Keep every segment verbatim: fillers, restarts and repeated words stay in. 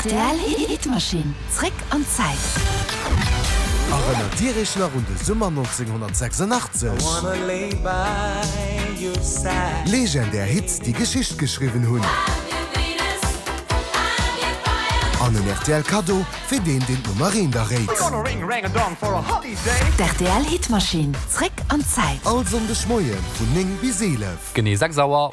Rtl Hitmaschinn, zréck an d'Zäit. Erënnert Dir Iech nach un de Summer nonzénghonnertsechsundachtzeg? Legendär Hits, déi Geschicht geschriwwen hunn. An en rtl Kaddo fir deen, deen d'Nummer eent erréit. D'RTL Hitmaschinn, zréck an d'Zäit. All Sonndeg Moie vun néng bis eelef. Genee sechs Auer.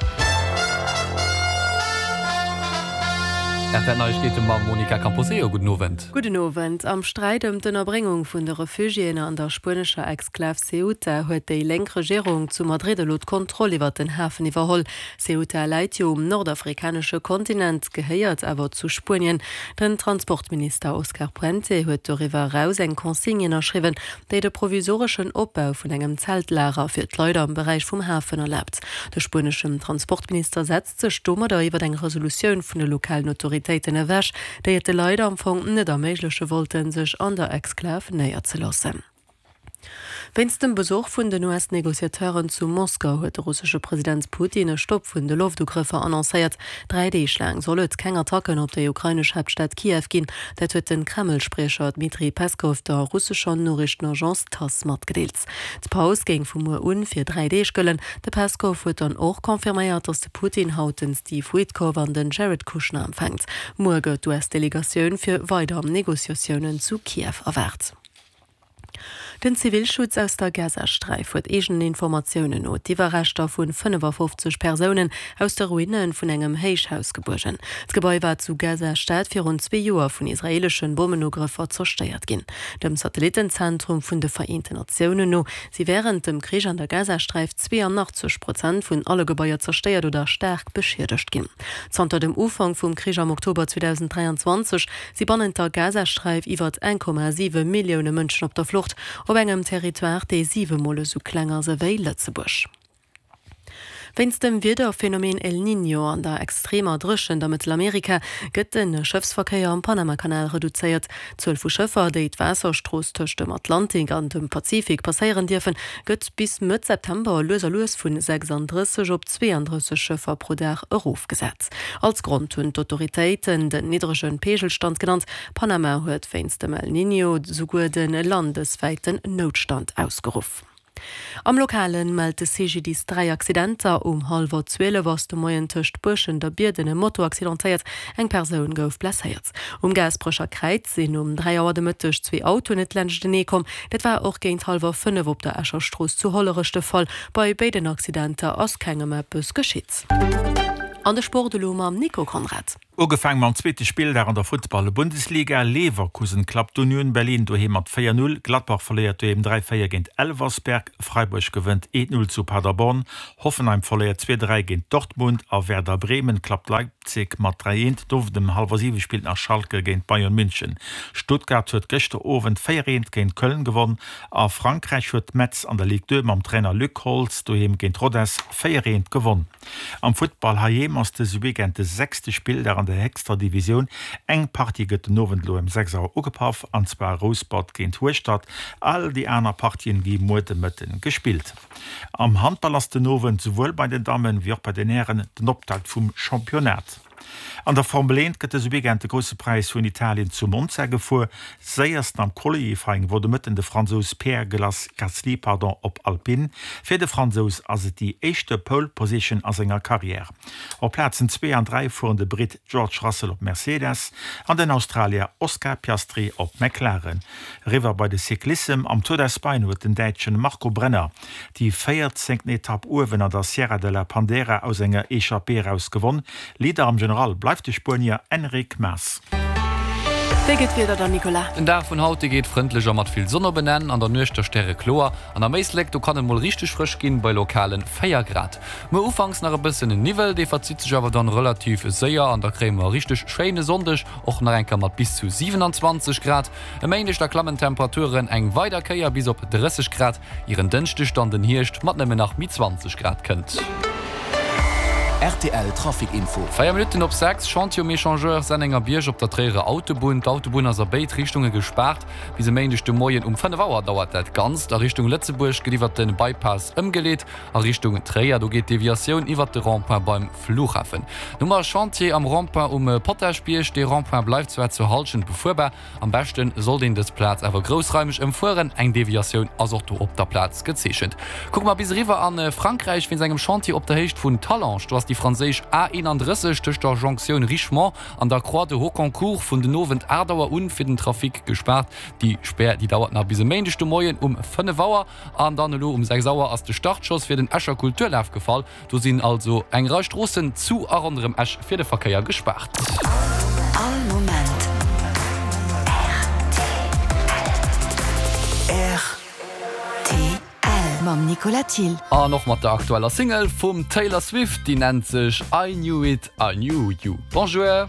R T L Neiegkeete mam Monica Camposeo. Gudden Owend. Gudden Owend. Am Sträit ëm d'Ënnerbréngung vun de Refugiéen an der spuenescher Exklav Ceuta huet déi lénk Regierung zu Madrid elo d'Kontroll iwwer den Hafen iwwerholl. Ceuta läit jo um nordafrikanesche Kontinent, gehéiert awer zu Spuenien. Den Transportminister Oscar Puente huet doriwwer eraus eng Consigne ënnerschriwwen, déi de provisoreschen Opbau vun engem Zeltlager fir d'Leit am Beräich vum Hafen erlaabt. De spueneschen Transportminister setzt sech domadder iwwer eng Resolutioun vun de lokalen Autoritéiten ewech, déi et de Leit am Fong net erméigleche wollten, sech an der Exklav néierzeloossen. Wéinst dem Besuch vun den U S-Negociateuren zu Moskau huet de russesche President Putin e Stopp vun de Loftugrëffer annoncéiert. Dräi Deeg laang soll et keng Attacken op déi ukrainesch Haaptstad Kiew ginn. Dat huet de Kreml-Spriecher Dmitri Peskow der russescher Noriichtenagence Tass matgedeelt. D'Paus géing vu muer un fir dräi Deeg gëllen. De Peskow huet dann och confirméiert, datt de Putin haut den Steve Witkoff an den Jared Kushner empfänkt. Muer gëtt d'U S-Delegatioun fir weider Negociatiounen zu Kiew erwaart. Den Zivilschutz aus der Gazasträif huet eegenen Informatiounen no d'Iwwerreschter vu fënnefafofzeg Persounen aus de Ruine vun engem Héichhaus gebuergen. D'Gebai war zu Gaza-Stad virun zwee Joer vun israeeleschen Bommenugrëffer zerstéiert ginn. Dem Satellittenzentrum vun de Vereenten Natiounen no si wärend dem Krich an der Gazasträif zweeanachtzeg Prozent vun alle Gebaier zerstéiert oder staark beschiedegt ginn. Zanter dem Ufank vum Krich am Oktober zweedausenddräianzwanzeg si bannent der Gazasträif iwwer eng Komma siwe Millioune Mënschen op der Flucht, op engem Territoire, dee siwe Mol esou kleng ass ewéi Lëtzebuerg. Wéinst dem Wiederphenomen El Niño an der extremer Dréchent a Mëttelamerika gëtt de Schëffsverkéier am Panamakanal reduzéiert. D'Zuel vu Schëffer, déi d'Waasserstrooss tëscht dem Atlantik an dem Pazifik passéieren dierfen, gëtt bis Mëtt September lues a lues vun sechsandrësseg op zweeandrësseg Schëffer pro Dag erofgesat. Als Grond hunn d'Autoritéiten den niddrege Peegelstand genannt. Panama huet wéinst dem El Niño souguer de landeswäiten Noutstand ausgeruff. Am Lokalen mellt de C G D I S dräi Accidenter. Um hallwer zwielef ass de Moien tëscht Buerschent a Bierden e Moto accidentéiert, eng Persoun gouf blesséiert. Um Gaasperecher Kräiz sinn um dräi Auer de Mëtteg zwee Autoen net laanschtenee komm. Dat war och géint hallwer fënnef op der Escher Strooss zu Hollerech de Fall. Bei béiden Accidenter ass kengem eppes geschitt. An de Sport elo mam Nico Conrad. Ugefaangen mam zweete Spilldag an der Futtball-Bundesliga. Leverkusen klappt Union Berlin doheem mat véier null. Gladbach verléiert doheem dräi véier géint Elversberg. Freiburg gewënnt eent null zu Paderborn. Hoffenheim verléiert zwee dräi géint Dortmund a Werder Bremen klappt Leipzig mat dräi eent. Den Owend um hallwer siwe spillt nach Schalke géint Bayern München. Stuttgart huet gëschter Owend véier eent géint Köln gewonn. A Frankräich huet Metz an der Ligue deux mam Trainer Luc Holtz doheem géint Rodez véier eent gewonn. Am Futtball heiheem ass dëse Weekend de sechste Spilldag an der héchster Divisioun. Eng Partie gëtt den Owend elo ëm sechs Auer ugepaff, an zwar Rouspert géint Hueschtert. All déi aner Partien gi muer de Mëtten gespillt. Am Handball ass den Owend souwuel bei den Dammen wéi och bei den Hären den Optakt vum Championnat. An der Formel eent gëtt dëse Weekend de Grousse Präis vun Italien zu Monza gefuer. Séiersten am Qualifying wor de Mëtten de Fransous Pierre Gasly pardon, op Alpine. Fir de Fransous ass et déi éischte Pole Position a senger Karriär. Op Plazen zwee an dräi fueren de Britt George Russell op Mercedes an den Australier Oscar Piastri op McLaren. Eriwwer bei de Cyclissem, Am Tour d'Espagne huet den Däitschen Marco Brenner déi véierzéngten Etapp uewen an der Sierra de la Pandera aus enger Echappée eraus gewonn. Leader am General bleift de Spuenier Enric Mas. Wéi gëtt d'Wieder dann, Nicolas? Den Dag vun haut, dee geet frëndlech a mat vill Sonn op en Enn. An der Nuecht da stärekloer an am Éislek, do kann et mol richteg frësch ginn, bei lokalen véier Grad. Muer ufanks nach e bëssen Niwwel, dee verzitt sech awer dann relativ séier an da kréie mer e richteg schéine Sonndeg, och nach eng Kéier mat bis zu siewenanzwanzeg Grad. E Méindeg da klammen d'Temperaturen eng weider Kéier bis op drësseg Grad, ier en Dënschdeg dann den Hierscht mat nëmmen nach méi zwanzeg Grad kënnt. Rtl Trafic Info. Véier Minutten op sechs, Chantier um Echangeur Sennengerbierg op der Tréierer Autobunn. D'Autobunn ass a béid Richtunge gespaart. Bis e Méindeg de Moien um fënnef Auer dauert dat Ganzt. A Richtung Lëtzebuerg gëtt iwwert de Bypass ëmgeleet. A Richtung Tréier, do geet d'Deviatioun iwwert de Rond-point beim Flughafen. Nummer Chantier am Rond-point um Potaschbierg. Dee Rond-point bleift zwar zur Hallschent befuerbar, am beschte sollt een dës Plaz awer groussraimeg ëmfueren. Eng Deviatioun ass och do op der Plaz gezeechent. Kucke mer bis eriwwer a Frankräich wéinst engem Chantier op der Héicht vun Talange. Do ass déi franséisch A eenandrësseg tëscht der Jonktioun Richemont an der Croix de Hocquincourt vun den Owend aacht Auer un fir den Trafic gespaart. Déi Spär déi dauert nach bis e Méindeg de Moien um fënnef Auer. An dann elo um sechs Auer ass de Startschoss fir den Escher Kulturlaf gefall. Do sinn also eng Rei Stroossen zu a ronderëm Esch fir de Verkéier gespaart. All Moment rtl mam Nicolas Thill. An och mat der aktueller Single vum Taylor Swift, déi nennt sech I Knew It, I Knew You. Bonjour!